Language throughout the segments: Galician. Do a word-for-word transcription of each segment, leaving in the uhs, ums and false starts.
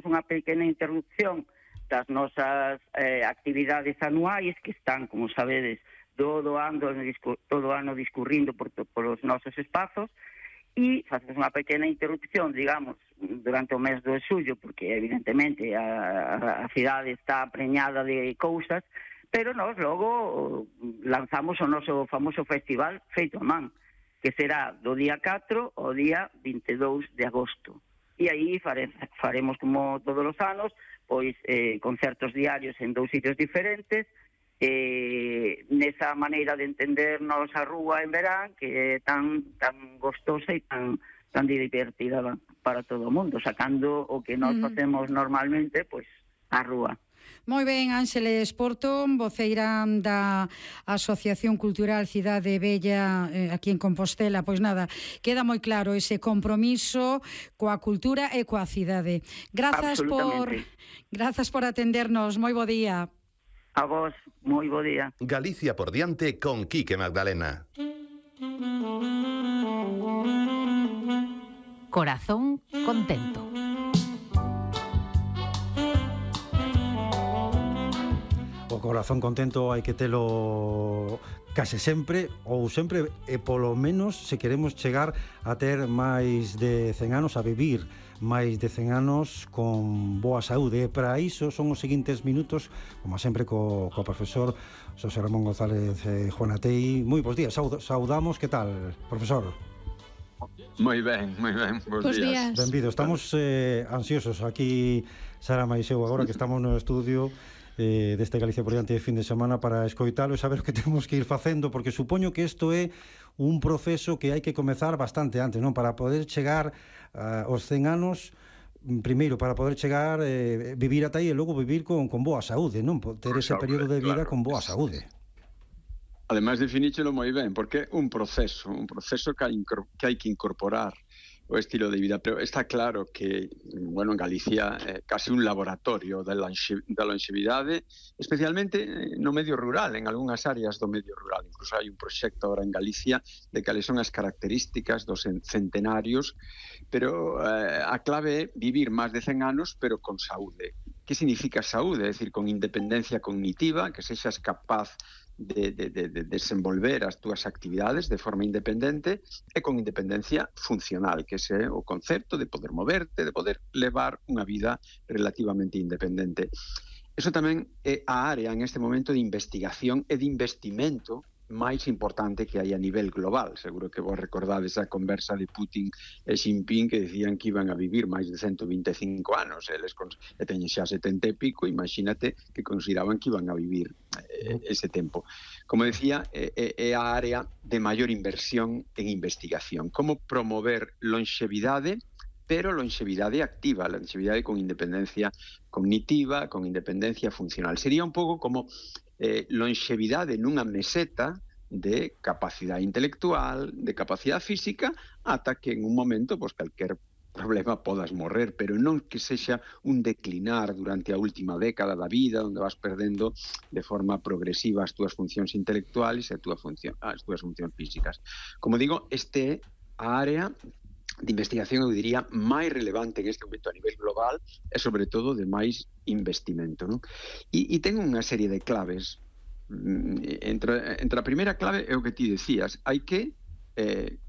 unha pequena interrupción das nosas eh, actividades anuais que están, como sabedes, todo ano, todo ano discurrindo por, por os nosos espazos, e facemos unha pequena interrupción, digamos, durante o mes de xullo, porque evidentemente a, a cidade está preñada de cousas, pero nós logo lanzamos o noso famoso festival feito a man, que será do día catro ao día vinte e dous de agosto. E aí fare, faremos, como todos os anos, pois eh, concertos diarios en dous sitios diferentes, eh, nesa maneira de entendernos a rúa en verán, que é tan, tan gostosa e tan, tan divertida para todo o mundo, sacando o que nós facemos normalmente, pois, a rúa. Moi ben, Ángeles Porto, voceira da Asociación Cultural Cidade Bella eh, aquí en Compostela. Pois nada, queda moi claro ese compromiso coa cultura e coa cidade. Grazas por grazas por atendernos. Moi bo día. A vos, moi bo día. Galicia por diante con Quique Magdalena. Corazón contento. O corazón contento hai que telo case sempre, ou sempre, e polo menos se queremos chegar a ter máis de cen anos, a vivir máis de cen anos con boa saúde. E para iso son os seguintes minutos, como sempre, co, co profesor Xosé Ramón González eh, Juanatei. Moi bons días, Saud, saudamos, que tal, profesor? Moi ben, moi ben, bons, bons días. días. Benvido, estamos eh, ansiosos aquí, Sara Maiseu, agora que estamos no estudio eh, deste Galicia por diante de fin de semana para escoitalo e saber o que temos que ir facendo, porque supoño que isto é un proceso que hai que comezar bastante antes, non? Para poder chegar uh, aos cen anos, primeiro, para poder chegar, eh, vivir ata aí e logo vivir con, con boa saúde, non? Ter ese período de vida con boa saúde. Ademais, definíchelo moi ben, porque é un proceso, un proceso que hai, que hai que incorporar o estilo de vida, pero está claro que, bueno, en Galicia é casi un laboratorio da longevidade, especialmente no medio rural, en algunhas áreas do medio rural. Incluso hai un proxecto agora en Galicia de cales son as características dos centenarios, pero eh, a clave é vivir máis de cen anos, pero con saúde. Que significa saúde? É dicir, con independencia cognitiva, que sexas capaz De, de, de, de desenvolver as túas actividades de forma independente e con independencia funcional, que ese é o concepto de poder moverte, de poder levar unha vida relativamente independente. Eso tamén é a área en este momento de investigación e de investimento máis importante que hai a nivel global. Seguro que vos recordades a conversa de Putin e Xi Jinping, que decían que iban a vivir máis de ciento vinte e cinco anos, eles e teñen xa setenta e pico, imagínate que consideraban que iban a vivir eh, ese tempo. Como decía, é eh, eh, a área de maior inversión en investigación. Como promover longevidade, pero longevidade activa, longevidade con independencia cognitiva, con independencia funcional. Sería un pouco como eh, longevidade nunha meseta de capacidade intelectual, de capacidade física, ata que en un momento, pues, calquer problema podas morrer, pero non que sexa un declinar durante a última década da vida, onde vas perdendo de forma progresiva as túas funcións intelectuais e a túa función, as túas funcións físicas. Como digo, este é a área de investigación, eu diría, máis relevante en este momento a nivel global e, sobre todo, de máis investimento, non? E, e ten unha serie de claves. Entre, entre a primeira clave é o que ti decías, hai que eh,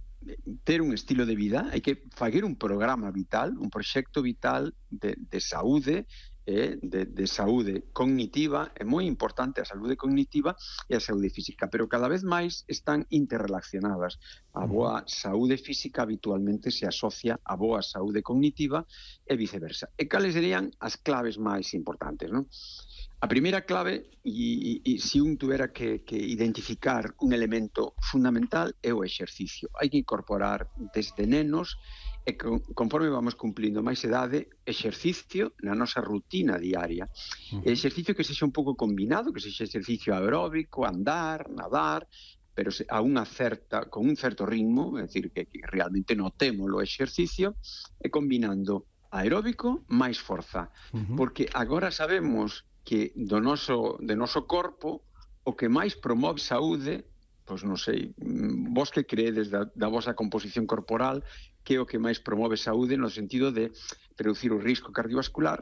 ter un estilo de vida, hai que facer un programa vital, un proxecto vital de, de saúde, eh, de, de saúde cognitiva. É moi importante a saúde cognitiva e a saúde física, pero cada vez máis están interrelacionadas. A boa saúde física habitualmente se asocia a boa saúde cognitiva e viceversa. E cales serían as claves máis importantes, non? A primeira clave, e, e, e se un tuvera que, que identificar un elemento fundamental, é o exercicio. Hai que incorporar desde nenos e con, conforme vamos cumplindo máis idade, exercicio na nosa rutina diaria. Uh-huh. Exercicio que sexa un pouco combinado, que sexa exercicio aeróbico, andar, nadar, pero a unha certa, con un certo ritmo, é dicir, que, que realmente notemos o exercicio, e combinando aeróbico máis forza. Uh-huh. Porque agora sabemos que do noso, de noso corpo o que máis promove saúde, pois non sei, vos que creedes da, da vosa composición corporal, que é o que máis promove saúde no sentido de reducir o risco cardiovascular,